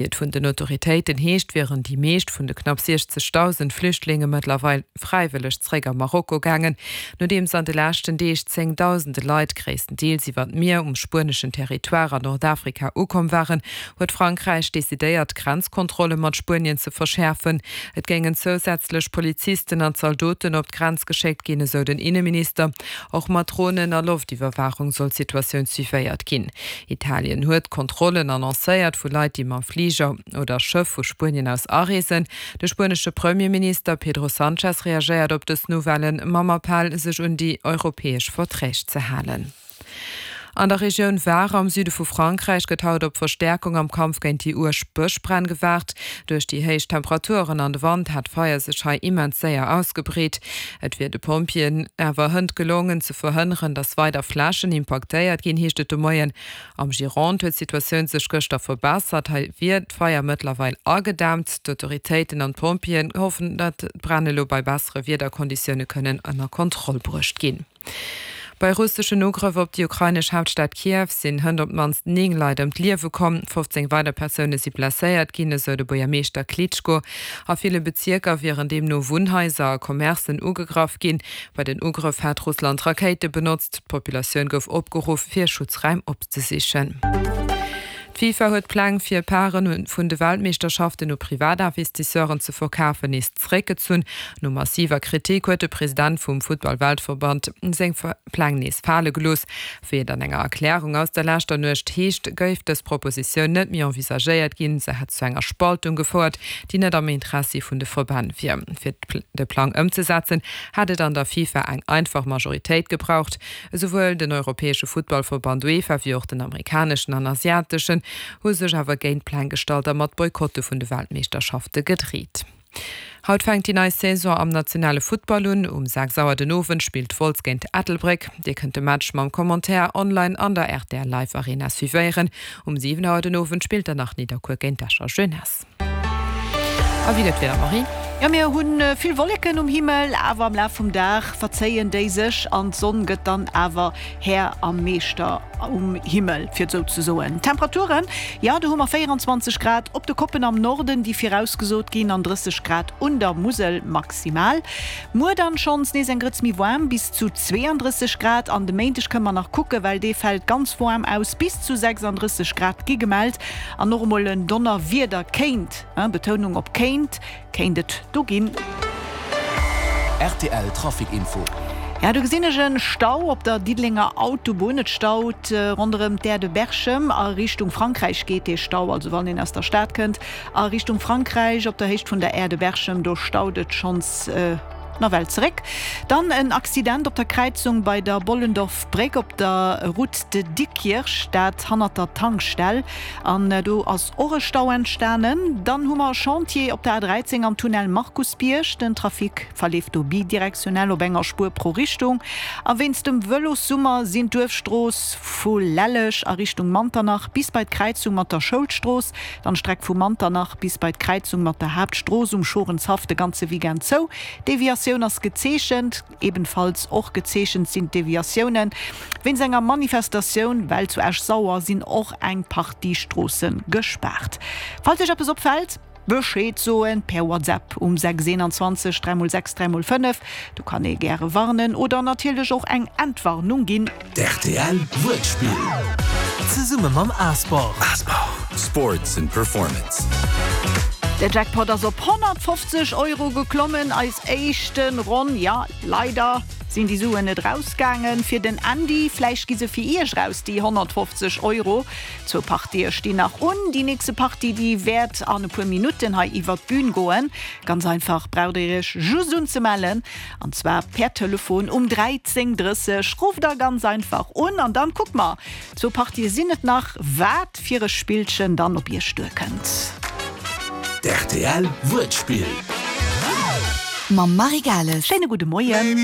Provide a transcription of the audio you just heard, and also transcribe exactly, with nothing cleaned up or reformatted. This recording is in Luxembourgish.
Wéi et vun den Autoritéiten heescht, wieren déi meescht vun de knapp siechzegdausend Flüchtlinge mëttlerweil fräiwëlleg zeréck a Marokko gaangen, nodeems an de leschten Deeg zéngdausende Leit, gréisstendeels iwwer d'Mier, um spueneschen Territoire an Nordafrika ukomm waren, huet Frankräich decidéiert, d'Grenzkontrolle mat Spuenien ze verschäerfen. Et géingen zousätzlech Polizisten an Zaldoten op d'Grenz geschéckt ginn, esou den Inneminister. Och mat Dronen a Loftiwwerwaachung soll d'Situatioun suivéiert ginn. Italien huet Kontrollen annoncéiert vu Leit, déi mam Fliger oder Schëff vu Spuenien aus areesen. De spuenesche Premierminister Pedro Sanchez reagéiert op dës Nouvellen mam Appell, sech un déi europäesch Verträg ze halen. An der Regioun Var am Süde vu Frankräich gëtt haut op Verstäerkung am Kampf géint déi uerg Bëschbränn gewaart. Duerch déi héich Temperaturen an de Wand hat d'Feier sech hei immens séier ausgebreet. Et wier de Pompjeeën awer hënt gelongen, ze verhënneren, datt weider Flächen impaktéiert ginn, heescht et de Moien. Am Gironde huet d'Situatioun sech gëschter verbessert. Hei wier d'Feier mëttlerweil agedämmt. D'Autoritéiten an d'Pompjeeën hoffen, datt d'Bränn elo bei bessere Wiederkonditioune kënnen ënner Kontroll bruecht ginn. Bei russeschen Ugrëff op déi ukrainesch Haaptstad Kiew sinn hënt op d'mannst néng Leit ëm d'Liewe komm. fofzéng weider Persoune si blesséiert ginn, esou de Buergermeeschter Klitschko. A ville Bezierker wieren deemno Wunnhaiser a Commercen ugegraff ginn. Bei den Ugrëff hätt Russland Rakéite benotzt. D'Populatioun gouf opgeruff, fir Schutzraim opzesichen. D'FIFA huet d'Pläng fir Paren vun de Weltmeeschterschaften u Privatinvestisseuren ze verkafen nees zeréckgezunn. No massiver Kritik huet de President vum Futtball-Weltverband seng Pläng nees fale gelooss. Wéi et an enger Erklärung aus der leschter Nuecht heescht, géif dës Propositioun net méi envisagéiert ginn. Se hätt zu enger Spaltung gefouert, déi net am Interessi vun de Verbänn wier. Fir de Plang ëmzesetzen, hätt et an der FIFA eng einfach Majoritéit gebraucht. Esouwuel den europäesche Futtballverband UEFA wéi och den amerikaneschen an asiateschen hu sech awer géint d'Pläng gestallt a mat Boykotte vun de Weltmeeschterschafte gedreet. Haut fänkt déi nei Saison am nationale Futtball un. Um sechs Auer den Owend spillt Wolz géint Ettelbréck. Dir kënnt de Match mam Commentaire online an der rtl Live Arena suivéieren. Um siwen Auer den Owend spillt dann nach Nidderkuer géint d'Escher Jeunesse. A wéi gëtt d'Wieder, Marie? Jo, mir hunn vill Wolleken um Himmel, awer am Laf vum Dag verzéien déi sech an d'Sonn gëtt dann awer Här a Meeschter um Himmel, fir et esou ze soen. D'Temperaturen, jo, do hu mer véieranzwanzeg Grad op de Koppen am Norden, déi virausgesot ginn, an drësseg Grad un der Musel maximal. Muer dann schonns nees eng Grëtz méi waarm, bis zu zweeandrësseg Grad, an de Méindeg kënne mer nach kucken, well dee fält ganz waarm aus, bis zu sechsandrësseg Grad gi gemellt an och emol en Donnerwieder kéint, Betounung op kéint, kéint et do ginn. Rtl Trafic Info. Ja, do gesinn ech en Stau op der Diddelenger Autobunn. Et staut ronderëm d'Aire de Berchem. A Richtung Frankräich geet dee Stau, also wann een aus der Stad kënnt a Richtung Frankräich op der Héicht vun der Aire de Berchem, do staut et schonns nawell zeréck. Dann en Accident op der Kräizung bei der Bollendorf-Bréck op der Route de Diekirch, dat hannert der Tankstell. An do ass och e Stau entstanen. Dann hu mer e Chantier op der A dräizéng am Tunnel Markusbierg. Den Trafic verleeft do bidirektionell op enger Spuer pro Richtung. A wéinst dem Vëlossummer sinn d'Duerfstrooss vu Lelleg a Richtung Manternach bis bei d'Kräizung mat der Schoulstrooss, dann d'Streck vu Manternach bis bei d'Kräizung mat der Haaptstrooss um Schorenshaff de ganze Weekend zou. D'Deviatioun ass gezeechent. Ebenfalls och gezeechent sinn d'Deviatiounen wéinst enger Manifestatioun, well zu Esch-Sauer sinn och eng Partie Stroosse gespaart. Falls Iech eppes opfält, Bescheed soen per WhatsApp um sechs eenanzwanzeg dräi mol sechs dräi mol fënnef. Do kann ee gäre warnen oder natierlech och eng Entwarnung ginn. D'RTL Wuertspill zesumme mam Asport. Sports and Performance. De Jackpot ass op honnertfofzeg Euro geklommen, eis éischten Ronn. Jo, leider sinn déi Suen net rausgaangen fir den Andy. Vläicht gi se fir iech raus, déi honnertfofzeg Euro. Zwou Partië stinn nach un. Déi nächste Partie, déi wäert an e puer Minutten hei iwwert d'Bün goen. Ganz einfach, braucht dir iech just unzemellen, an zwar per Telefon um dräizéng drësseg. Rufft da ganz einfach un an dann kucke mer, zwou Partië sinn et nach, wat fir e Spillchen dann op iech duerkënnt. D'RTL Wuertspill. Mam Marie Gales. Schéine gudde Moien.